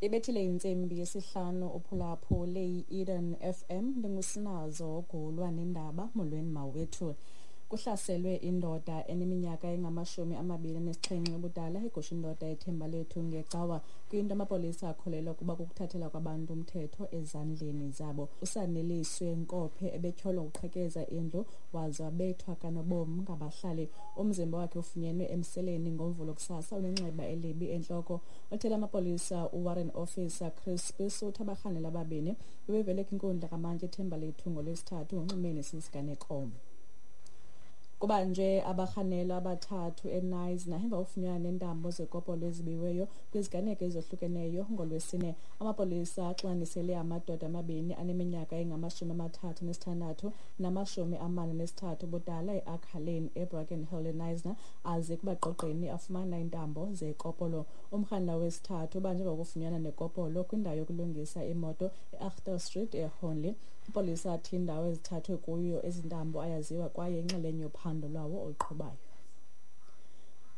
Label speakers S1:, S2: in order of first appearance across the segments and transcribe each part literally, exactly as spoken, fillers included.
S1: Ibethile intsimbi yesihlanu uphulaphule i-Eden F M, ndingusinazo Gulwa nendaba. Molweni mawethu. Kuhlaselwe indoda eneminyaka engamashumi amabini anesixhenxe ubudala egusha indoda eThembalethu ngecawa, kwinto amapolisa akholelwa ukuba kukuthathela kwabantu umthetho ezandleni zabo. Usaneliswe Nkophe ebetyholwa ukuqhekeza indlu waze wabethwa kanobom ngabahlali. Umzimba wakhe ufunyenwe emseleni ngoMvulo kusasa unenxeba elibi entloko. Othela amapolisa uWarren Officer Chris Spies uthi abarhanela ababini bebevele kwinkundla kamantyi eThembalethu ngoLwesithathu ngonximeni sisiganeko. Kubanjwe abarhanelwa abathathu eKnysna emva kokufunyanwa neentambo zekopolo ezibiweyo kwiziganeko ezohlukeneyo ngoLwesine. Amapolisa axinanisele amadoda amabini aneminyaka engamashumi amathathu nesithandathu namashumi amane nesithathu ubudala eAkhaleni eBrackenhill eKnysna aze kubagqogqeni afumana iintambo zekopolo. Umrhanelwa wesithathu ubanjwe ngokufunyanwa nekopolo kwindawo yokulungisa imoto eAkhter Street eHornley. Ipolisa athi indawo ezithathwe kuyo ezi ntambo ayaziwa kwaye inxalenye yophando lwawo oluqhubayo.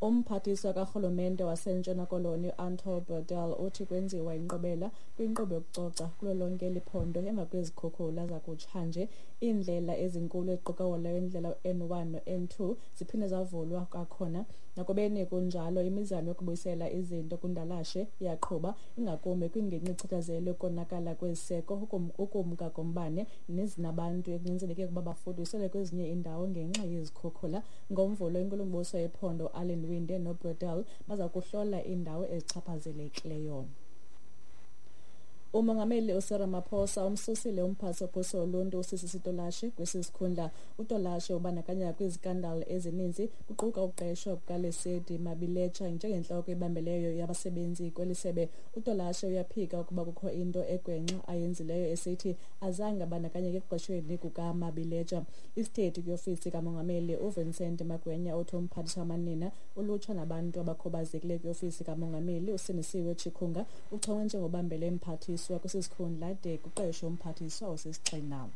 S1: Umphathiswa karhulumente waseNtshona Koloni uAnton Bredell uthi kwenziwa inkqubela kwinkqubo yokucoca kulo lonke eli phondo emva kwezikhukhula zakutshanje. Iindlela ezinkulu eziquka wolayo indlela U N one no N two ziphinde zavulwa kwakhona. Nakubeni kunjalo, imizamo yokubuyisela izinto kundalashe iyaqhuba, ingakumbi kwingingqi echatshazelwe ukonakala kweziseko, ukumka kombane nezinabantu ekunyanzeleke ukuba bafuduselwe kwezinye iindawo ngenxa yezikhukhula. NgoMvulo, inkulumbuso yephondo Alan Winde noBredell baza kuhlola iindawo ezichaphazelekileyo. Umongameli uCyril Ramaphosa umsusile umphathi wophuhliso loluntu uSisisi Tolashe kwesi sikhundla. UTolashe ubandakanya kwizikandali ezininzi kuquka ukuqeshwa kukaLesedi Mabiletsha njengentloko ebambeleyo yabasebenzi kweli sebe. UTolashe uyaphika ukuba kukho into egwenxa ayenzileyo, esithi azange abandakanyeke ekuqeshweni kukaMabiletsha. Isithethi kwiofisi kamongameli uVincent Magwenya uthi umphathiswa wamanina, ulutsha nabantu abakhubazekileyo kwiofisi kamongameli uSindisiwe Chikunga uchongwe njengobambele mphathiswa kwisikhundla de kuqeshwe umphathiswa osisigxina.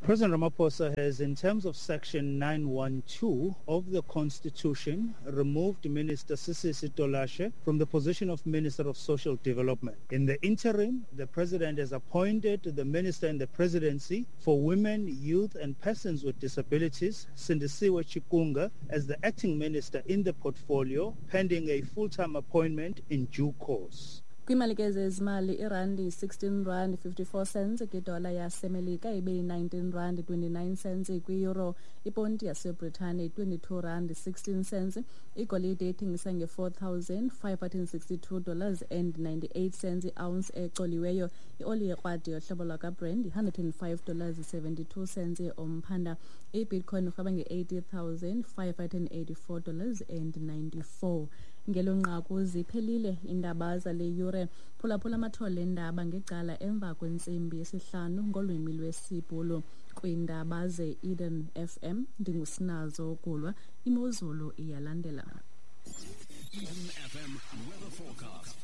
S2: President Ramaphosa has, in terms of Section nine one two of the Constitution, removed Minister Sisisi Tolashe from the position of Minister of Social Development. In the interim, the President has appointed the Minister in the Presidency for Women, Youth and Persons with Disabilities, Sindisiwe Chikunga, as the acting minister in the portfolio, pending a full-time appointment in due course.
S1: Kwimali ke zezimali, irandi sixteen rand fifty-four cents kwidola yaseMelika ibe yi-nineteen rand twenty-nine cents kwi-euro, iponti yaseBritane twenty-two rand sixteen cents, igolide ithengisa nge-four thousand five hundred and sixty-two dollars and ninety-eight cents i-ounce ecoliweyo, ioli yekrwadi yohlobo lwakaBrand one hundred and five dollars seventy-two cents umphanda, iBitcoin irhweba nge-eighty thousand five hundred and eighty-four dollars and ninety-four. Ngelo nqaku ziphelile iindaba zale yure. Phulaphula amathole endaba ngecala emva kwentsimbi yesihlanu ngolwimi lwesiBhulu. Kwiindaba ze-Eden F M ndingusinazo Gulwa. Imozulu iyalandela.
S3: Eden F M weather forecast.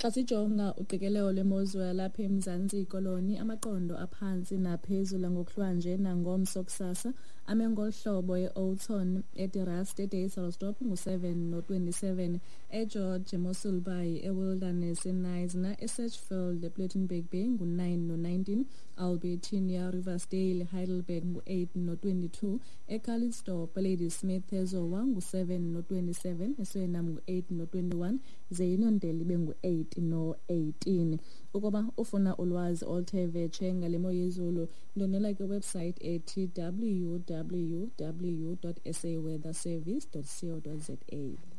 S1: Xa sijonga uqikelelo lwemozulu yalapha eMzantsi Koloni, amaqondo aphantsi naphezulu ngokuhlwanje nangomso kusasa ame ngolu hlobo: eOudtshoorn, eDeRust, eDysselsdorp ngu-seven no-twenty-seven, eGeorge, eMossel Bay, eWilderness, eKnysna, eSedgefield, ePlettenberg Bay ngu-nine no-nineteen, Albertinia, Riversdale, Heidelberg ngu-eight no-twenty-two, eCalitzdorp, eLadysmith, eZowa ngu-seven no-twenty-seven, eSuriname ngu-eight no-twenty-one, ze iNondeli ibe ngu-eight no eighteen. Ukuba ufuna ulwazi oluthe vetshe ngale mo yezulu, ndonela kwiwebsite ethi w w w dot s a weather service dot co dot z a.